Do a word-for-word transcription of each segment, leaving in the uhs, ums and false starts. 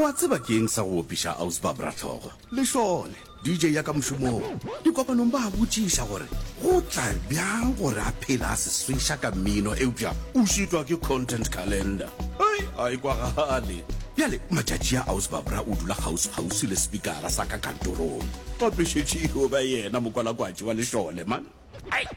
Wa tseba ke eng sa go opiša Aus Barbara hlogo? Lešole, D J ya ka mošomong. Dikopanong ba a botšiša gore go tla bjang gore a phele a se sweša ka mmino eupša o šitwa ke content calendar. Hei, a e kwagale. Bjale matšatši a Aus Barbara o dula kgauswi-kgauswi le spikara sa ka kantorong. Gape šetše e yo ba yena mokwalakwatši wa lešole, man. Ai!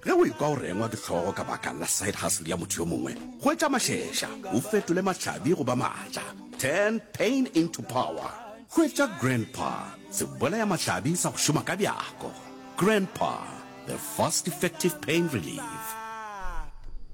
Ge o ekwa o rengwa ke hlogo ka baka la side hustle ya motho yo mongwe, hwetša mašeša, o fetole mahlabi go ba maatla. Turn pain into power. Hwetša Grandpa, sebolayamahlabi sa go šoma ka bjako. Grandpa, the fast effective pain relief.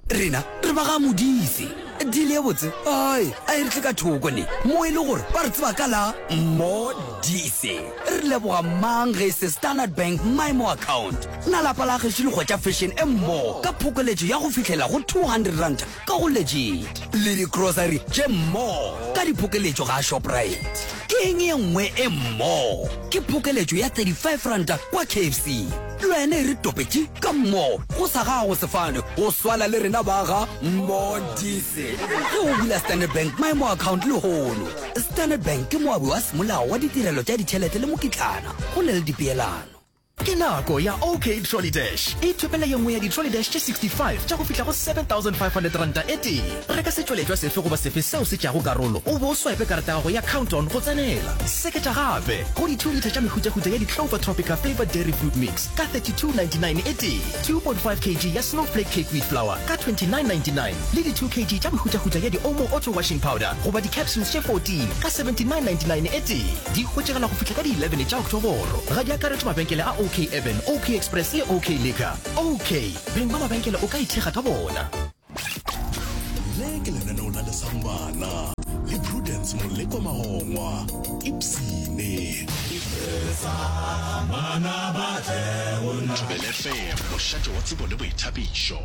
Rena re ba ga Modise. Deal ye botse ai a e re tle ka thoko ne mo e le gore ba re tseba ka la Modise. Re leboga mang ge e se Standard Bank MyMo account. Na lapa la gešo le hwetša fashion e mmo ka phokoletšo ya go fihlela go two hundred rand ka go Legit le di-grocery tše mmo ka diphokeletšo ga Shoprite. Ke eng ye nngwe e mmo? Ke phokeletšo ya thirty-five rand kwa K F C. Le wena e re topetše ka mmo go sa gago sefane go swana le rena ba ga Modise. Ge o bula Standard Bank MyMo account lehono. Standard Bank ke moabi wa semolao wa ditirelo tša ditšhelete le mokitlana go na le dipeelano. Ke nako ya OK Trolley Dash. Ithopele ye nngwe ya di-Trolley Dash tše sixty-five tša go fihla go seven thousand five hundred ranta e tee. Reka setšweletšwa sefe goba sefe seo se tšeago karolo o be o swipe karata ya gago ya Count-On go tsenela. Seketša gape go di two litre tša mehutahuta ya di-Clover Tropica Flavored Dairy Fruit Mix ka thirty-two ninety-nine e tee, two point five kilograms ya Snowflake Cake Wheat Flour ka twenty-nine ninety-nine le di two kilograms tša mehutahuta ya di-Omo Auto Washing Powder goba di-capsules tše fourteen ka seventy-nine ninety-nine e tee. Di hwetšagala go fihla ka di eleven tša Oktoboro. Ga di akaretšwe mabenkele a OK Urban, OK Express le OK Liquor. OK, beng ba mabenkele o ka ithekga ka bona. Le ke lenaneo la Lesang Bana le Prudence Moleko Magongwa, Ipsene. Thobela F M, mošate wa tsebo le boithabišo.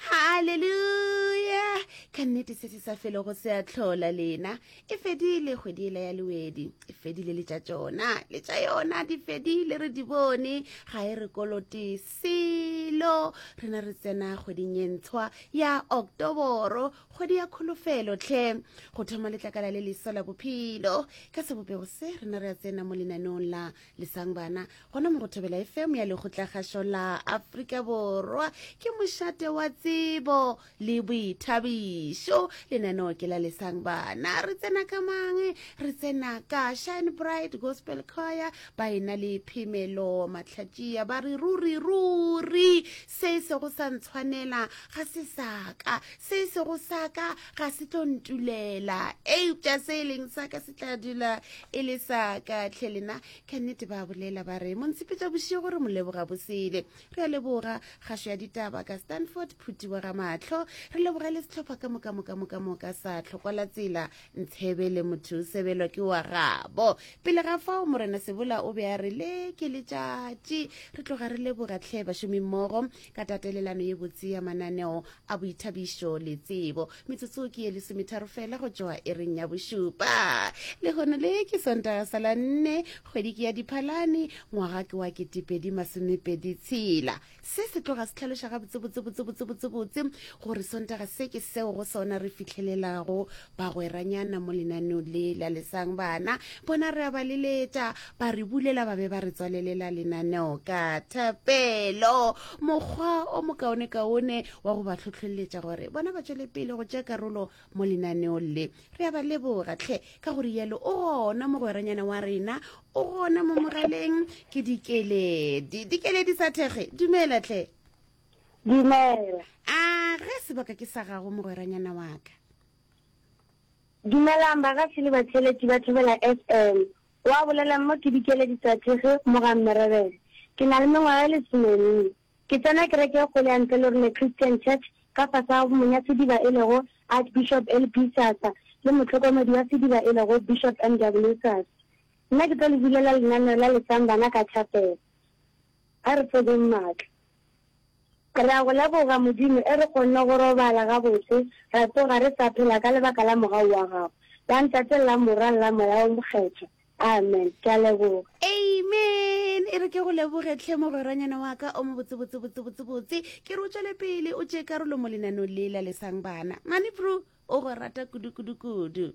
Hallelujah. Ka nnete se se sa felego se a hlola lena. E fedile kgwedi ela ya Lewedi, e fedile le tša tšona, le tša yona di fedile, re di bone, ga e re kolote selo. Rena re tsena kgweding ye ntshwa ya Oktoboro, kgwedi ya kholofelo tlhe, go thoma letlakala le leswa la bophelo. Ka sebopego se rena re a tsena mo lenaneong la Lesang Bana, gona mo go Thobela F M ya Lekgotlakgašo la Afrika Borwa. Ke mošate wa tsebo le boithabišo, lenaneo ke la Lesang Bana. Re tsena ka mang? Re tsena ka Shine Bright Gospel Choir, ba ena le Phemelo Mahlatšia, ba re ruri ruri se sego sa ntshwanela ga se saka, se sego saka ga se tlo ntulela, eupša se e leng saka se tla dula e le saka. Tlhe lena ka nnete ba bolela ba re montshepetša bošego re mo leboga bosele. Re a leboga kgašo ya ditaba ka Stanford Phutiwa ga Mahlo, re leboga le sehlopha ka moka moka moka moka sa Tlhokwa la Tsela Ntshebe le motho o sebelwa ke wa gabo. Pele ga fao Morena Sebola o be a re le ke letšatši. Re tloga re leboga tlhe bašomimmogo ka tatelelano ye botse ya mananeo a boithabišo le tsebo. Metsotso ke ye lesometharo fela go tšwa ereng ya bošupa. Lehono le ke Sontaga sa la nne, kgwedi ke ya Diphalane, ngwaga ke wa ketepedi masomepedi tshela. Se se tloga se hlaloša gabotse botse botse botse botse botse gore Sontaga se ke seo go sona re fihlelelago bagweranyana mo lenaneong le la Lesang Bana. Bona re a ba leletša, ba re bulela, ba be ba re tswalelela lenaneo ka thapelo. Mokgwa o mokaonekaone wa go ba hlohleletša gore bona ba tšwele pele go tšea karolo mo lenaneong le. Re a ba leboga tlhe ka gore yalo o gona mogweranyana wa rena, o gona mo mogaleng ke Dikeledi. Dikeledi sa thekge, dumela tlhe. Dumela. A ge sebaka ke sa gago mogweranyana wa ka. Dumelang bagatši le batheeletši ba Thobela F M. Wa bolelang mo ke Dikeledi sa thekge mo ga Mmerebele. Ke na le mengwaga e lesomenne. Ke tsena kereke e kgolo ya Ntle le Rone Christian Church ka fase ga monya sediba e lego Archbishop L P Sasa le mohlokomedi wa sediba e lego Bishop M W Sasa. Nna ke tlo le bulela lenaneo la Lesang Bana ka thapelo. A re fodeng maatla. Re a go leboga Modimo e re kgonne go robala gabotse, ra tsoga re sa phela ka lebaka la mogau wa gago. La Ntate, la Morwa, la Moya o Mokgethwa. Amen. Ke a leboga. Amen. E re ke go leboge tlhe mogweranyana wa ka o mo botse botse botse botse botse. Ke re o tšwele pele o tšee karolo mo lenaneong le la Lesang Bana. Mane bro, o go rata kudu kudu kudu.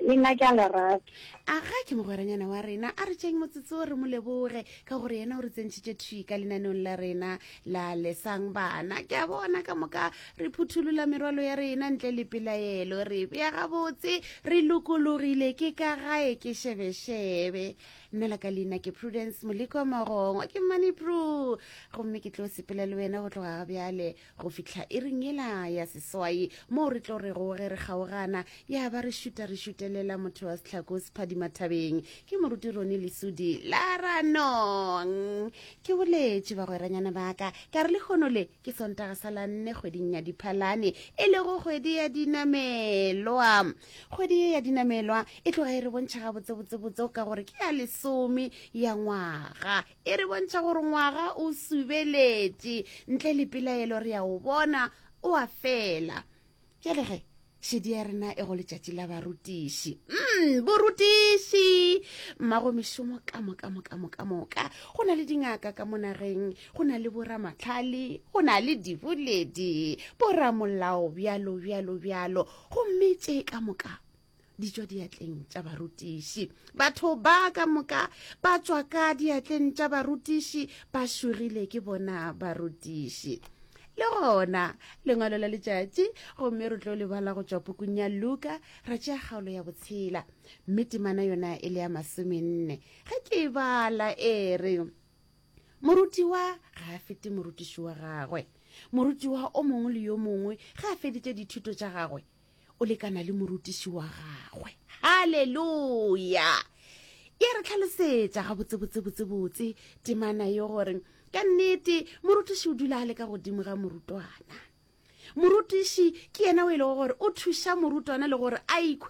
Le nna ke a le rata. A ga ke mogweranyana wa rena, a re tšeng motsotso re mo leboge ka gore yena o re tsentšhitše thwi ka lenaneong la rena la Lesang Bana. Ke a bona ka moka re phutholola merwalo ya rena ntle le pelaelo, re bea gabotse, re lokologile, ke ka gae ke šebešebe. Nna la ka leina ke Prudence Moleko Magongwa, ke Money Pru, gomme ke tlo sepela le wena go tloga ga bjale go fihla iring yela ya seswai, moo re tlo rego ge re kgaogana ya ba re šuta re šutelela motho wa sehlako sephadimathabeng, ke moruti Roni Lesudi la Ranong. Ke boletše bagweranyana ba ka ka re lehono le ke Sontaga sa la nne kgweding ya Diphalane, e lego kgwedi ya dinamelwa. Kgwedi ye ya dinamelwa e tloga e re bontšha gabotsebotsebotse ka gore ke ya lesome ya ngwaga, e re bontšha gore ngwaga o subeletše ntle le pelaelo, re ya o bona o a fela. Bjale ge šedi ya rena e go letšatši la barutiši, mm, borutiši mmago mešomo ka moka moka moka moka, go na le dingaka ka mo nageng, go na le boramatlhale, go na le diboledi, boramolao, bjalo bjalo bjalo, gomme tše ka moka di tšwa diatleng tša barutiši. Batho ba ka moka ba tšwa ka diatleng tša barutiši, ba šogile ke bona barutiši. Le gona lengwalo la letšatši, gomme re tlo lebala go tšwa pukung ya Luka, ra tšea kgaolo ya botshela, mme temana yona e le ya masomenne. Ge ke e bala e re, morutiwa ga a fete morutiši wa gagwe, morutiwa o mongwe le yo mongwe ge a feditše dithuto tša gagwe o lekana le morutiši wa gagwe. Haleluya! E re tlhalosetša gabotsebotsebotsebotse temana yo gore ka nnete morutiši o dula a le ka godimo ga morutwana. Morutiši ke yena o e lego gore o thuša morutwana le gore a ikhwe